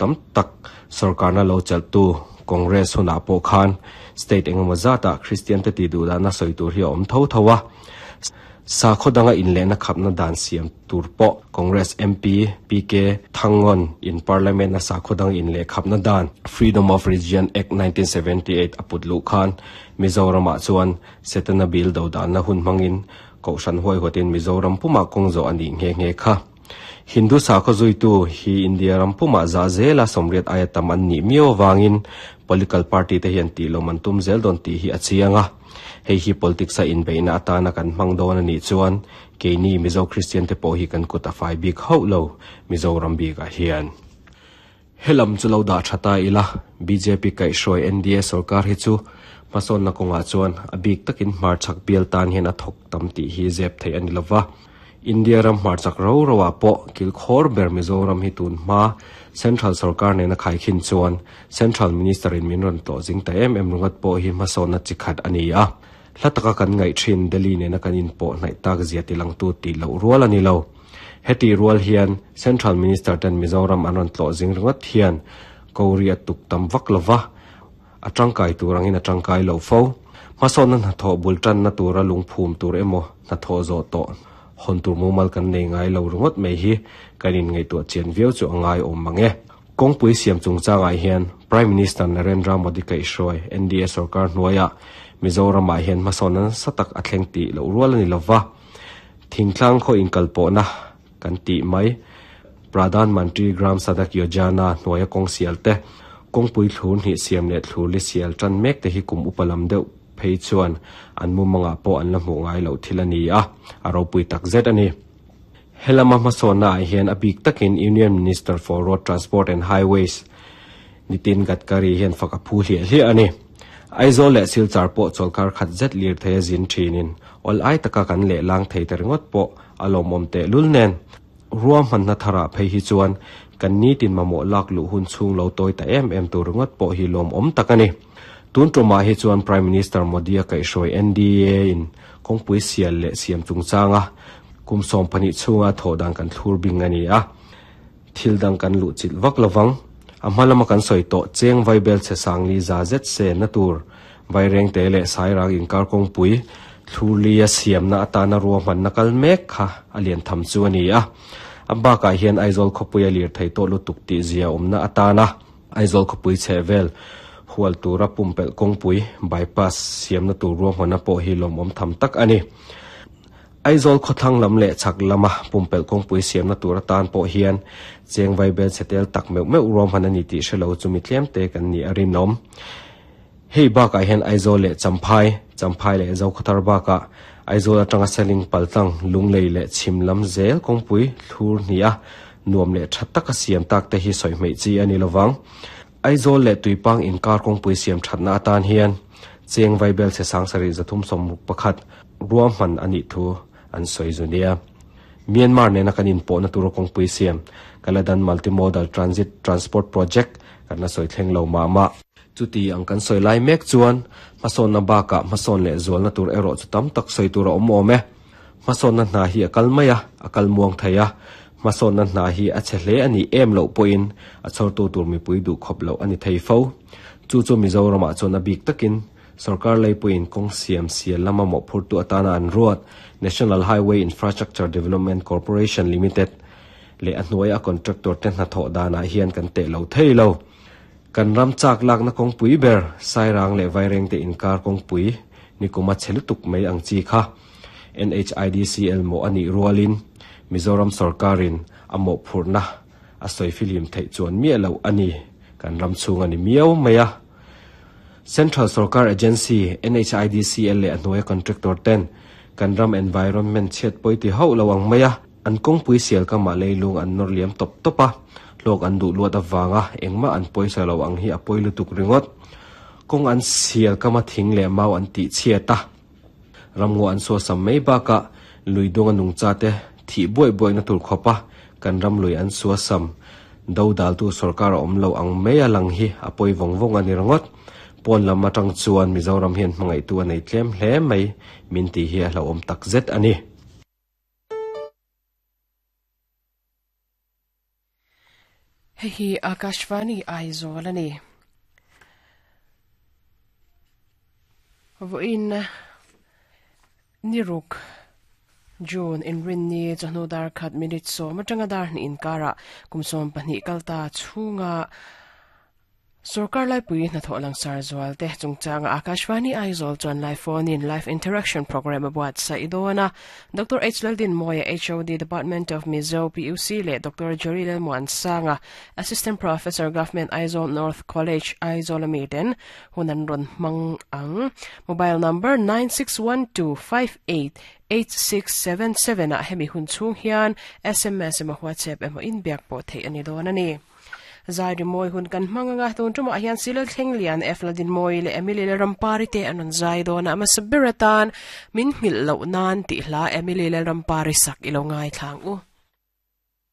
Tam tak sorkarna lo chelhtu Congress hunah pawh khan state engemaw zatah Kristiante tih duhdahna sawi tur hi a awm tho tho a. Sakhaw danga inlehna khapna dan siam tur pawh Congress MP PK Thangon in Parliament a sakhaw dang inleh khapna dan Freedom of Religion Act 1978 a put luh khan Mizoramah chuan Setana bill dodanna hun hmangin Kohhran huaihawtin Mizoram pumah kawng zawh a nih nghe nghe kha. Hindu sakhaw zuitu hi India ram pumah zah zela sawmriat aia tam an nih miau avangin political party te hian tih lawm an tum zel dawn tih hi a chiang a. Hei hi politics a inbeihna atana kan hmang dawn a nih chuan keini Mizo Kristian te pawh hi kan kut a fai bik hauh lo Mizoram bikah hian. Helam chu lo dah tha ta ila, bjp kaihhruai NDA sorkar hi chu hmasawnna kawngah chuan a bik takin hmarchhak bial tan hian a thawk tam tih hi zep theih a ni lova. India ram hmarchhak ro roah pawh kilkhawr ber Mizoram hi tun hma Central sorkar nena khaikhin chuan Central Minister in min rawn tlawh zing ta em em ringawt pawh hi hmasawnna chi khat a ni a. Hla taka kan ngaih thin Delhi nena kan inpawh hnaih tak zia tilangtu tih loh rual a ni lo. Heti rual hian Central Minister ten Mizoram an rawn tlawh zing ringawt hian Kori a tuk tam vak lova, a tangkai tur angin a tangkai lo fo. Hmasawnna hnathawh bul tanna tura lungphum tur emaw hnathawh zawh tawh hawn tur mumal kan nei ngai lo ringawt mai hi kan inngaihtuah chian viau chu a ngai awm mang e. Kawngpui siam chungchangah hian Prime Minister Narendra Modi kaihhruai NDA sorkar hnuaiah Mizoramah hian hmasawnna nasa tak a thleng tih loh rual a ni lova. Thingtlang khaw inkalpawhna kan tih mai. Pradhan Mantri Gram Sadak Yojana hnuaia kawng sial te, kawngpui thlur hnih siam leh thlur li sial tan mek te hi kum upa lam deuh phei chuan an mumangah pawh an la hmuh ngai loh thil a ni a, a ropui tak zet a ni. Helama hmasawnna ah hian a bik takin Union Minister for Road Transport and Highways Nitin Gadkari hian fak a phu hliah hliah a ni. Aizawl leh Silchar pawh chawlhkar khat zet lirthei a zin thinin awl ai taka kan lehlang thei ta ringawt pawh a lawmawm tehlul nen. Ruahmanna tharah phei hi chuan kan nitin mamawh lak luh hun chhung lo tawi ta em em tur ringawt pawh hi lawmawm tak a ni. Tun tumah hi chuan Prime Minister Modi-a kaihhruai NDA in kawngpui sial leh siam chungchanga kum 12 chhunga thawh dan kan thlur bing a ni a. Thil dang kan luh chilh vak lovang. A hma lama kan sawi tawh cheng vaibel chhe sangli za zet se na tur Vairengte leh Sairang inkar kawngpui thlurlia siamna atana ruahmanna kal mek kha a lian tham chu a ni a. A bakah hian Aizawl khawpui a lir thei tawh lutuk tih zia awmna atana Aizawl khawpui chhehvel hual tura pumpelh kawngpui, bypass, siamna tur ruahmanna pawh hi lawmawm tham tak a ni. Aizawl khawthlang lam leh chhak lama pumpelh kawngpui siamna tur atan pawh hian cheng vaibel chhe tel tak meuh meuh ruahman a ni tih hre lo chu mi tlem te kan nih a rinawm. Hei bakah hian Aizawl leh Champhai, Champhai leh Zokhawthar bakah Aizawl atanga Seling paltlang, Lunglei leh Chhim lam zel kawngpui thlur hnih a nuam leh tha taka siam tak te hi sawi hmeih chi a ni lovang. Aizawl leh Tuipang inkar kawngpui siam thatna atan hian cheng vaibel chhe 73 61 ruahman a nih thu an sawi zu nia. Myanmar nena kan inpawhna tura kawngpui siam Kaladan Multimodal Transit Transport Project kan la sawi thleng lo mah mah. Chuti ang kan sawi lai mek chuan hmasawnna bakah hmasawn leh zualna tur erawh chu tam tak sawi tur a awm awm e. Hmasawnna hna hi a kal mai a, a kal muang thei a. Hmasawnna hna hi a chhe hle a nih em loh pawhin a chhawrtu tur mipui duh khawp loh a ni thei fo. Chu chu Mizoramah chuan a bik takin Sorkar leipuiin kawng siam sial lama mawhphurtu atana an ruat National Highway Infrastructure Development Corporation Limited leh a hnuaia a contractor te hnathawh danah hian kan teh lo thei lo. Kan ram chak lakna kawngpui ber Sairang leh Vairengte inkar kawngpui nikuma chhe lutuk mai ang chi kha NHIDCL mawh a nih rualin Mizoram sorkarin a mawhphurhna a sawi fihlim theih chuan miah loh a ni. Kan ram chhung a ni miau mai a. Central sorkar agency NHIDCL leh a hnuaia contractor ten kan ram environment chhiat pawi ti hauh lo ang mai a, an kawngpui sial kamah leilung an nawr liam tawp tawp a, hlawk an duh luat avanga engmah an pawisa lo ang hi a pawi lutuk ringawt. Kawng an sial kama thing leh mau an tih chhiat a, ramngaw an suasam mai bakah lui dunga nungcha te thih buaih buaihna tur khawpa kan ram lui an suasam do daltu sorkar a awm lo ang mai a lang hi a pawi vawng vawng a ni ringawt. Pawn lam atang chuan Mizoram hian hmangaihtu a nei tlem hle mai min tih hi a hlauhawm tak zet a ni. Hei hi Akashvani Aizawl a ni. Vawiin Niruk, June, Inrinni chawhnu dar khat minute sawm atanga dar hnih inkarah kum 12 kalta chhunga Sorkar laipui hnathawh langsar zual te chungchanga Akashvani Aizawl chuan live phone in live interaction program a buatsaih dawn a. Doctor H Laldinmawia HOD Department of Mizo PUC leh Doctor Jerry Lalmuansanga Assistant Professor Government Aizawl North College Aizawl ami ten hun an rawn hmang ang. Mobile number 9612588677 ah hemi hun chhung hian sms emaw WhatsApp emaw inbiak pawh theih a ni dawn a ni. Zai rimawi hun kan hmang anga tun tumah hian Silal Thlenglian, F Ladinmawii leh Emily Lalrampari te an rawn zai dawn a, a hmasa ber atan min nghilh loh nan tih hla Emily Lalrampari sak i lo ngaithla ang u.